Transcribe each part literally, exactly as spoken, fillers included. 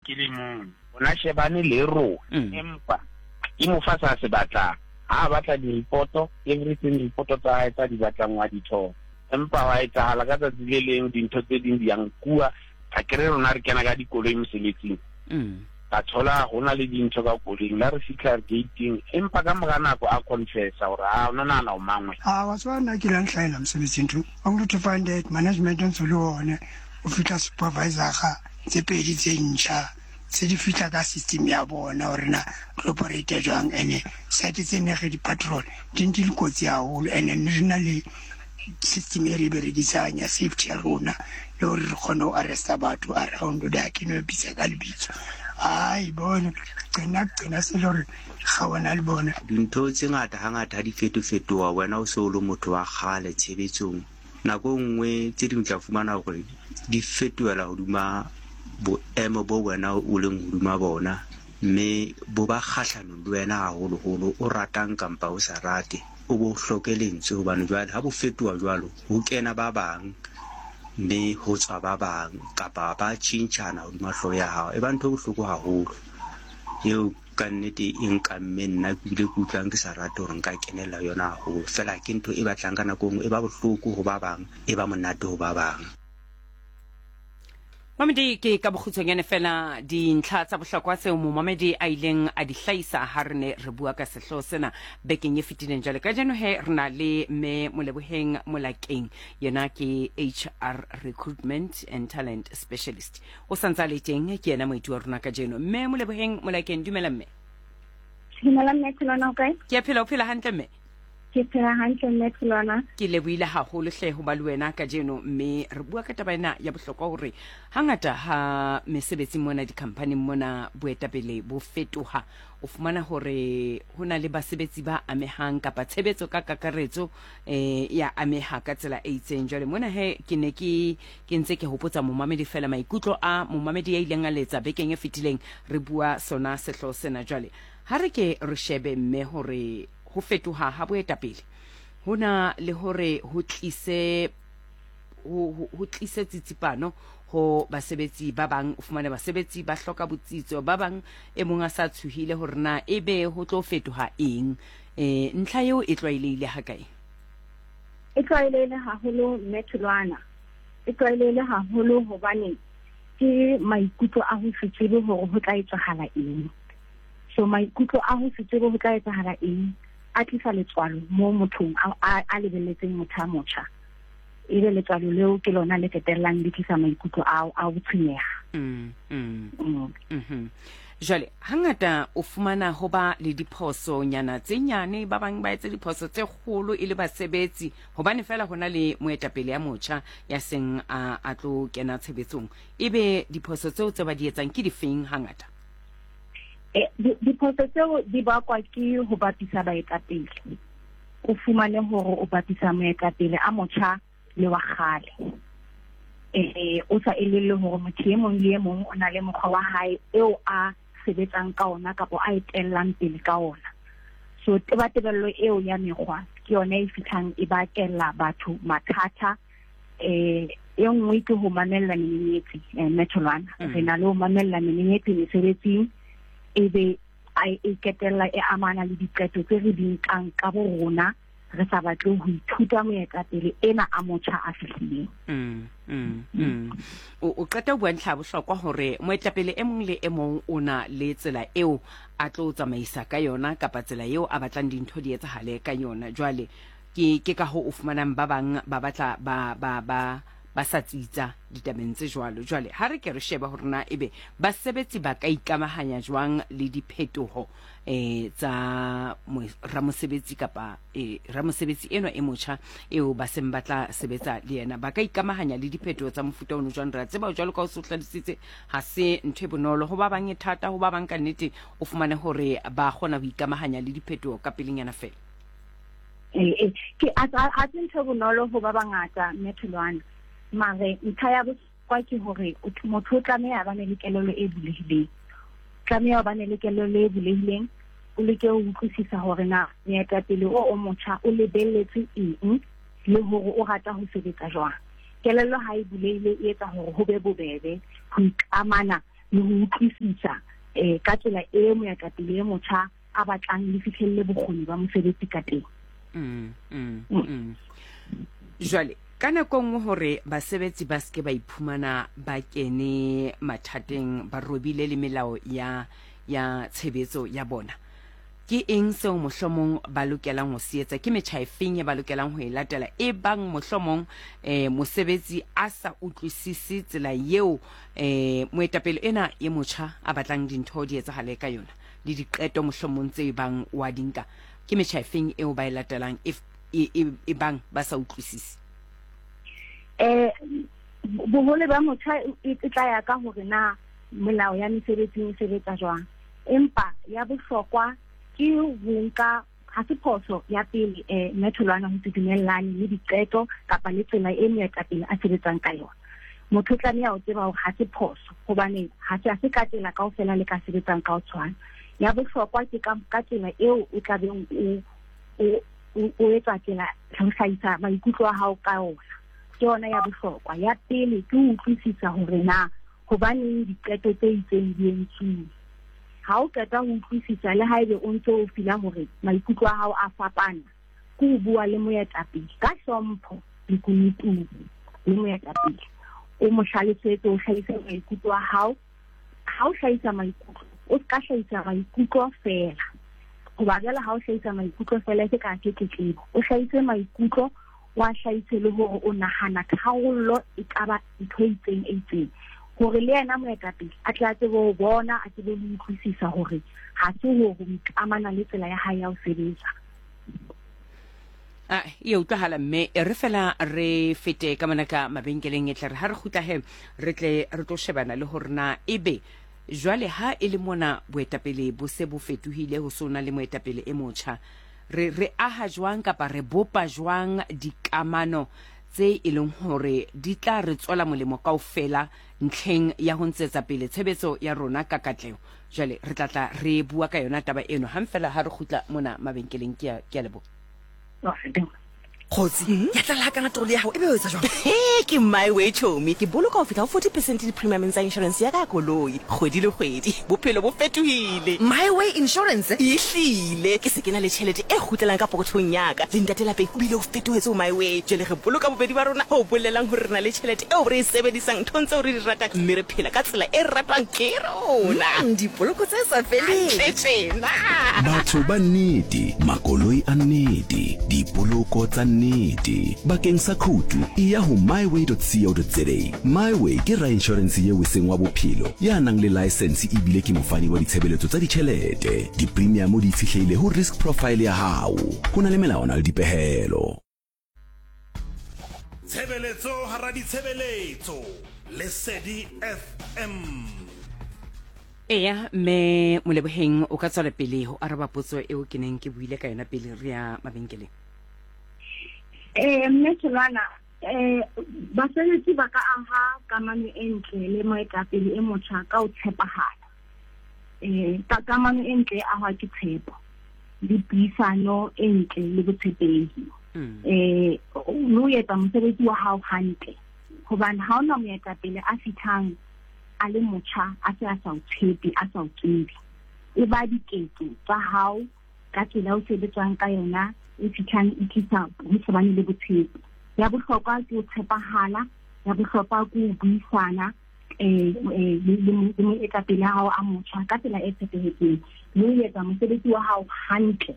ke le mong. Ona shebane le rona, Mm. empa ke mo fa sa se batlang. Ha a batla di-report-o, everything report tsa hae tsa di batlang wa di thola. Empa wa etsahala ka tsatsi le leng dintho tse ding di a nkuwa. Akere rona re kena ka dikoloi mosebetsing. Mm. Ka thola ho na le dintho ka koloing, la re fihla gate-ing, empa ka mora nako a confessa hore ha o no nahana o mang wena. Ah, wa tseba nna ke la nhlahela mosebetsing ntho. Only to find that management o ntso le one, o fihla supervisor-a tse pedi tse ntjha, tse di fihla ka system ya bona hore na re operate jwang. Ene site tse ne re di patrol di ntse di kotsi haholo, ene ne re na le system e re e berekisang ya safety ya rona, le hore re kgone ho arresta batho around da ke no bitsa ka lebitso. Ai bone qena qena se le hore ga bona le bona. Dintho tse ngata hangata ha di fetofetoha, wena o se o le motho wa kgale tshebetsong. Nako e nngwe tse ding o tla fumana hore di fetohela hodima boemo bo wena o leng hodima bona, mme bo ba kgahlanong le wena haholoholo, o ratang kampa o sa rate, o bo hloke lentswe. Hobane jwale ha bo fetoha jwalo, ho kena ba bang mme ho tswa ba bang, kapa ba tjhentjhana hodima hlooho ya hao. E ba ntho e bohloko haholo eo ka nnete e nkamme nna, ke bile ke utlwang ke sa rate hore nka kenella yona haholo. Feela ke ntho e batlang ka nako e nngwe e ba bohloko ho ba bang, e ba monate ho ba bang. Mamedi, ke ka bokgutshwanyane fela dintlha tsa bohlokwa tseo momamedi a ileng a di hlahisa ha re ne re bua ka sehlooho sena bekeng e fetileng. Jwale kajeno he re na le mme Moleboheng Molakeng, yena ke H R Recruitment and Talent Specialist. O santse a le teng, ke yena moeti wa rona kajeno. Mme Moleboheng Molakeng, dumela mme. Dumela mme Tholwana, o kae? Ke a phela, o phela hantle mme? Ke phela hantle mme Tholwana. Ke lebohile haholo hle ho ba le wena kajeno, mme re bua ka taba ena ya bohlokwa hore hangata ha mesebetsing mona di-company mona boetapele bo fetoha, o fumana hore ho na le basebetsi ba amehang kapa tshebetso ka kakaretso, eh, ya ameha ka tsela e itseng. Jwale mona he ke ne ke, ke ntse ke hopotsa momamedi fela maikutlo a momamedi ya ileng a letsa bekeng e fetileng re bua sona sehlooho sena. Jwale ha re ke re shebe mme hore ho fetoha ha boetapele ho na le hore ho tlise, ho, ho, ho tlise tsitsipano ho basebetsi ba bang. O fumane basebetsi ba hloka botsitso, ba bang e mong a sa tshohile hore na ebe ho tlo fetoha eng. Eh, ntlha eo e tlwaelehile ha kae? E tlwaelehile haholo mme Tholwana. E tlwaelehile haholo hobane ke maikutlo a ho se tsebe hore ho tla etsahala eng. So maikutlo a ho se tsebe ho tla etsahala eng a tlisa letswalo mo mothong a, a, a lebelletseng motho a motjha. Ebe letswalo leo ke lona le qetellang le tlisa maikutlo ao a ho tshwenyeha. Mm, mm. Mm. Mm-hmm. Jwale hangata o fumana ho ba le diphoso nyana tse nyane, ba bang ba etse diphoso tse kgolo e le basebetsi hobane fela hona le moetapele ya motjha ya seng a, a tlo kena tshebetsong. Ebe diphoso tseo tse ba di etsang ke difeng hangata? Eh, di-, diphoso tseo di bakwa ke ho bapisa baetapele. O fumane hore o bapisa moetapele a motjha le wa kgale. Eh, o sa elellwe hore motho e mong le e mong o na le mokgwa wa hae eo a sebetsang ka ona kapa a etellang pele ka ona. So tebatebello eo ya mekgwa ke yona e fihlang e bakella batho mathata. Eh, e nngwe ke ho mamella menyenyetsi, eh, mme Tholwana. Mm. Re na le ho mamella menyenyetsi mesebetsing, ebe a e ketella e amana le diqeto tse re di nkang ka bo rona, re sa batle ho ithuta moetapele ena a motjha a fihlileng. Mm, mm, mm. O, o qeta ho bua ntlha ya bohlokwa hore moetapele e mong le e mong o na le tsela eo a tlo tsamaisa ka yona kapa tsela eo a batlang dintho di etsahale ka yona. Jwale ke, ke ka hoo o fumanang ba bang ba batla ba, ba, ba, ba sa tsitsa ditabeng tse jwalo. Jwale ha re ke re shebe hore na ebe basebetsi ba ka ikamahanya jwang le diphetoho, eh, tsa mo-, ramosebetsi kapa, eh, ramosebetsi enwa e motjha eo ba seng ba tla sebetsa le yena. Ba ka ikamahanya le diphetoho tsa mofuta ono jwang? Re a tseba jwalo ka o se o hlalositse, ha se ntho e bonolo ho ba bang, e thata ho ba bang. Ka nnete o fumane hore ba kgona ho ikamahanya le diphetoho ka pelenyana fela. Eh, eh, ke a, a, a se ntho e bonolo ho ba bangata, mme Tholwana. Mare ntlha ya bohlokwa ke hore o th-, motho o tlameha a bane le kelello e bulehileng. Tlameha o bane le kelello e bulehileng, o leke ho utlwisisa hore na moetapele o o motjha o lebelletse eng le hore o rata ho sebetsa jwang. Kelello ha e bulehile e etsa hore ho be bobebe ho ikamana le ho utlwisisa eh ka tsela e moetapele e motjha a batlang le fihlelle bokgoni ba mosebetsi ka teng. Mm, mm, mm. Jwale ka nako nngwe hore basebetsi ba seke ba iphumana ba kene mathateng, ba robile le melao ya ya tshebetso ya bona, ke eng seo mohlomong ba lokelang ho se etsa? Ke metjha efeng e ba lokelang ho e latela e bang mohlomong eh mosebetsi a sa utlwisise tsela eo eh moetapele ena e motjha a batlang dintho di etsahale ka yona le diqeto mohlomong tse bang wa di nka? Ke metjha efeng eo ba e latelang e e bang ba sa utlwisise? Eh bohole ba motjha e tla ya ka hore na melao ya mesebetsing e sebetsa jwang, empa ya bohlokwa ke ho nka ha se phoso ya pele eh mme Tholwana ho se dumellane le diqeto kapa le tsela e moetapele a sebetsang ka yona. Motho o tlameha ho tseba hore ha se phoso, hobane ha se ha se ka tsela kaofela le ka sebetsang ka ho tshwana. Ya bohlokwa ke ka ka tsela eo o tla beng o o o etsa tsela ho hlahisa maikutlo a hao ka ona. Ke yona ya bohlokwa. Ya pele ke ho utlwisisa hore na hobaneng diqeto tse itseng di entsuwe. Ha o qeta ho utlwisisa, le haebe o ntse o fila hore maikutlo a hao a fapana, ke ho bua le moetapele ka hlompho le kunutung le moetapele, o mo hlalosetse, o hlahise maikutlo a hao. Ha o hlahisa maikutlo, o ska hlahisa maikutlo feela, hoba jwale ha o hlahisa maikutlo feela ke ka ke tletlebo. O hlahise maikutlo, wa hlahise le hore o nahana tharollo e ka ba ntho e itseng e itseng, hore le yena moetapele a tla tsebe ho bona, a tsebe ho utlwisisa hore ha se hore o ikamana le tsela ya hae ya ho sebetsa. Ah, e utlwahala mme e re fela re fete ka mona ka mabenkeleng, e tla re ha re kgutla he re tle re tlo shebana le hore na ebe jwale ha e le mona boetapele bo se bo fetohile, ho sona le moetapele e motjha, re re aha jwang kapa re bopa jwang dikamano tse e leng hore di tla re tswela molemo kaofela ntlheng ya ho ntshetsa pele tshebetso ya rona ka katleho. Jwale re tla tla re bua ka yona taba eno hang fela ha re kgutla mona mabenkeleng. Ke a ke a leboha. Kgotsi, ya tlala kana troli ya hao e be o etsa jwang? He, ke My Way chomi. Ke boloka ho fihla ho forty percent di-premiumeng tsa insurance ya ka ya koloi kgwedi le kgwedi. Bophelo bo fetohile. My Way Insurance? Ehlile, ke se ke na le tjhelete e kgutlelang ka pokothong ya ka. Le ntate lapeng o bile o fetohetse ho My Way. Jwale re boloka bobedi ba rona ho bolelang hore re na le tjhelete eo re e sebedisang nthong tseo re di ratang, mme re phela ka tsela e ratwang ke rona. Mm, dipoloko tse sa feleng. Hantle tjena. Batho ba nnete, makoloi a nnete, dipoloko tsa nnete. Bakeng sa khoutu e ya ho myway dot co dot za. MyWay ke ra insurance yeo e seng wa bophelo, ya nang le license ebile ke mofani wa ditshebeletso tsa ditjhelete. Di-premium di itshetlehile ho risk profile ya hao. Ho na le melawana le dipehelo. Tshebeletso hara ditshebeletso, Lesedi F M. Eya, mme Moleboheng o ka tswela pele ho araba potso eo ke neng ke buile ka yona pele re ya mabenkeleng. Eh mme Tholwana, eh basebetsi ba ka aha kamano e ntle le moetapele e motjha ka ho tshepahala. Eh ka kamano e ntle e ahwa ke tshepo le puisano e ntle le botshepehi. Eh o etsa mosebetsi wa hao hantle, hobane ha ona moetapele a fihlang a le motjha a se a sa o tshepe, a sa o tsebe. E ba diketso tsa hao ka tsela o sebetsang ka yona e fihlang e tlisa ho se bane le botshepi. Ya bohlokwa ke ho tshepahala, ya bohlokwa ke ho buisana eh eh le le moetapele wa hao a motjha ka tsela e tshepehetseng, le ho etsa mosebetsi wa hao hantle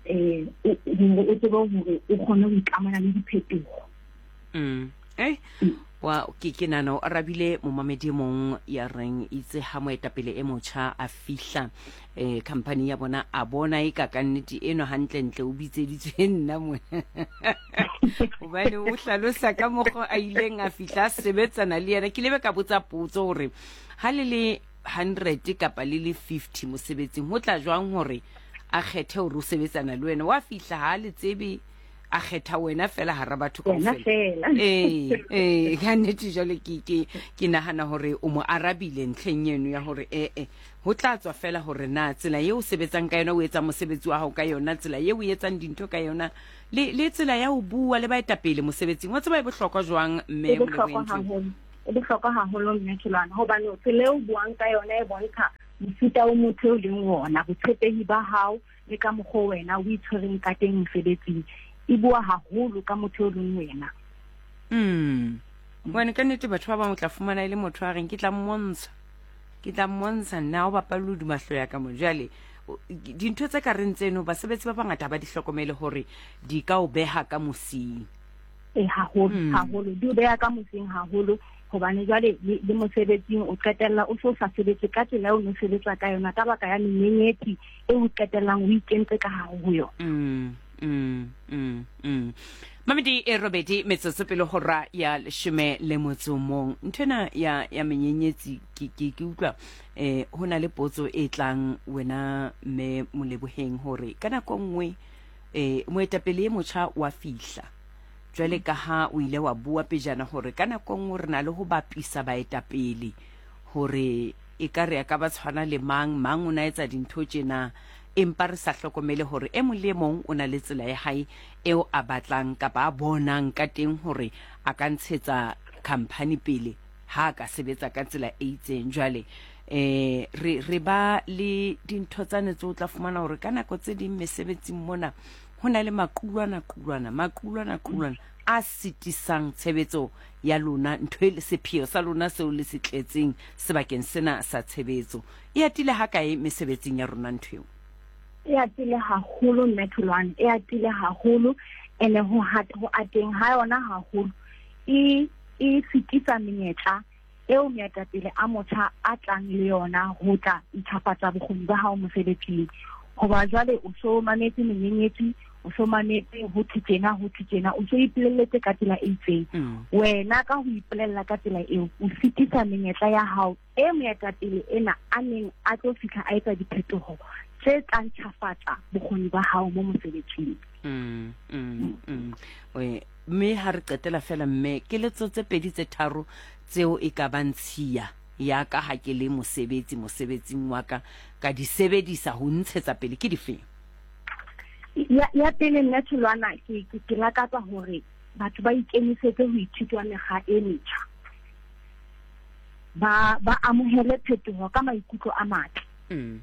eh hore o tsebe hore o kgone ho ikamana le diphetoho. Mm. Eh wa ke ke nana o arabile momamedi mong ya reng itse ha moetapele e motjha a fihla eh company ya bona a bona e ka ka nnete eno hantle ntle o bitseditswe nna mona. Hobane o hlalosa ka mokgwa a ileng a fihla sebetsana le yena. Ke lebe ka botsa potso hore ha le le hundred kapa le le fifty mosebetsing ho tla jwang hore a kgethe hore o sebetsana le wena, wa fihla ha le tsebe a kgetha wena fela hara batho kaofela. Eh eh ka nnete jwale ke ke ke nahana hore o mo arabile ntlheng eno ya hore eh eh ho tla tswa fela hore na tsela eo o sebetsang ka yona, o etsa mosebetsi wa hao ka yona, tsela eo o etsang dintho ka yona, le le tsela ya ho bua le baetapele mosebetsing wa tseba e bohlokwa jwang mme Moleboheng? E bohlokwa haholo mme Tholwana, hobane tsela eo o buang ka yona e bontsha mofuta o motho o leng wona, botshepehi ba hao le ka mokgwa wena o itshwereng ka teng mosebetsing. E bua haholo ka motho o leng wena. Mm. Hobane ka nnete batho ba bang o tla fumana e le motho a reng ke tla mmontsha. Ke tla mmontsha nna o bapale hodima hlooho ya ka mo. Jwale dintho tse ka reng tseno basebetsi ba bangata ba di hlokomele hore di ka o beha ka mosing. E haholo, haholo. Di o beha ka mosing haholo, hobane jwale le mosebetsing o qetella o so sa sebetse ka tsela eo o no sebetsa ka yona ka baka ya menyenyetsi e o qetellang o ikentse ka hare ho yona. Mm, mm, mm, mm. Mamedi e robedi metsotso pele hora ya leshome le motso mong. Nthwena ya ya menyenyetsi ke ke ke utlwa eh ho na le potso e tlang wena mme Moleboheng hore ka nako nngwe eh moetapele e motjha wa fihla. Jwale ka ha o ile wa bua pejana hore ka nako nngwe re na le ho bapisa baetapele hore e ka re ka ba tshwana le mang mang o na etsa dintho tjena, empa re sa hlokomele hore e mong le mong o na le tsela ya hae eo a batlang kapa a bonang ka teng hore a ka ntshetsa company pele ha ka sebetsa ka tsela e itseng. Jwale eh re re ba le dintho tsane tse o tla fumana hore ka nako tse ding mesebetsing mona ho na le maqulwana qulwana maqulwana qulwana a sitisang tshebetso ya lona, ntho e le sepheo sa lona seo le se tletseng sebakeng sena sa tshebetso. E atile ha kae mesebetsing ya rona ntho eo? E atile haholo mme Tholwana, e atile haholo, ene ho ho ateng ha yona haholo e e sitisa menyetla eo moetapele a motjha a tlang le yona ho tla ntlafatsa bokgoni ba hao mosebetsing. Hoba jwale o so mametse menyenyetsi, o so mametse ho thwe tjena ho thwe tjena, o so ipolelletse ka tsela e itseng. Wena ka ho ipolella ka tsela eo o sitisa menyetla ya hao e moetapele ena a neng a tlo fihla a etsa diphetoho tse tla ntlafatsa bokgoni ba hao mo mosebetsing. Mm, mm, mm. Oe, mme ha re qetela fela mme keletso tse pedi tse tharo tseo e ka bang tshiya ya ka ha ke le mosebetsi mosebetsing wa ka ka di sebedisa ho ntshetsa pele ke difeng? Ya ya pele nna Tholwana ke ke ke lakatsa hore batho ba ikemisetse ho ithuta mekgwa e metjha. Ba ba amohele phetoho ka maikutlo a matle. Mm.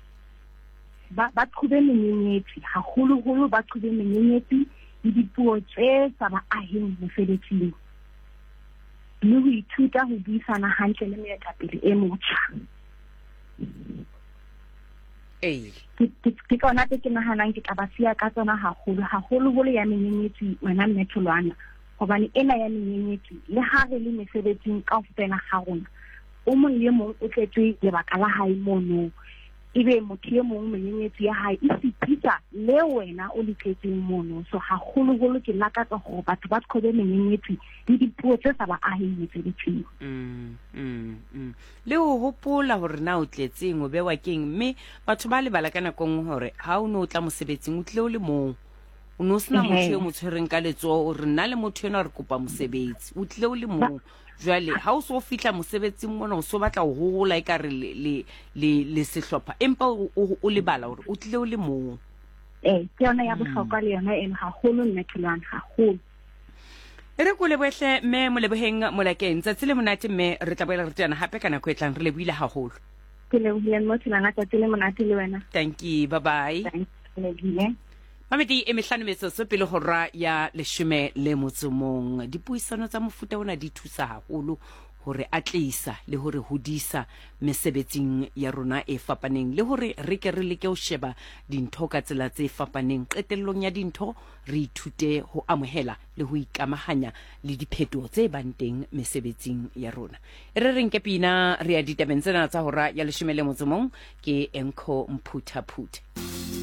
Ba ba qhobe menyenyetsi, haholoholo ba qhobe menyenyetsi le dipuo tse sa ba aheng mosebetsing. Le ho ithuta ho buisana hantle le moetapele e motjha. Ee. Ke ke tsona tse ke nahanang ke tla ba siya ka tsona haholo, haholoholo ya menyenyetsi wena mme Tholwana, hobane ena ya menyenyetsi le ha re le mesebetsing kaofela ga rona, o mong le mong o tletse lebaka la hae mono. Ebe motho e mong menyenyetsi ya hae e sitisa le wena o le tletseng mono. So haholoholo ke lakatsa hore batho ba qhobe menyenyetsi le dipuo tse sa ba aheng mosebetsing. Mm, mm, mm. Le ho hopola hore na o tletseng o bewa keng, mme batho ba lebala ka nako nngwe hore ha o no tla mosebetsing o tlile o le mong, o no sena motho e mo tshwereng ka letsoho o re nna le motho enwa re kopa mosebetsi, o tlile o le mong. Jwale ha o so fihla mosebetsing mona o so batla ho hola ekare le le le le sehlopha, empa o o lebala hore o tlile o le mong. Eh ke yona ya bohlokwa le yona eno haholo mme Tholwana, haholo. E re ko lebohle mme Moleboheng Molakeng, tsatsi le monate mme re tla boela re teana hape ka nako e tlang. Re lebohile haholo. Ke lebohile mme Tholwana, tsatsi le monate le wena. Thank you, bye bye. Thank you. Mamedi e mehlano metsotso pele hora ya leshome le motso mong. Dipuisano tsa mofuta ona di thusa haholo hore atlisa le hore hodisa mesebetsing ya rona e fapaneng, le hore re ke re leke ho sheba dintho ka tsela tse fapaneng. Qetellong ya dintho re ithute ho amohela le ho ikamahanya le diphetoho tse bang teng mesebetsing ya rona. E re reng ke pina re ya ditabeng tsena tsa hora ya leshome le motso mong ke Enko Mphuthaphuthe.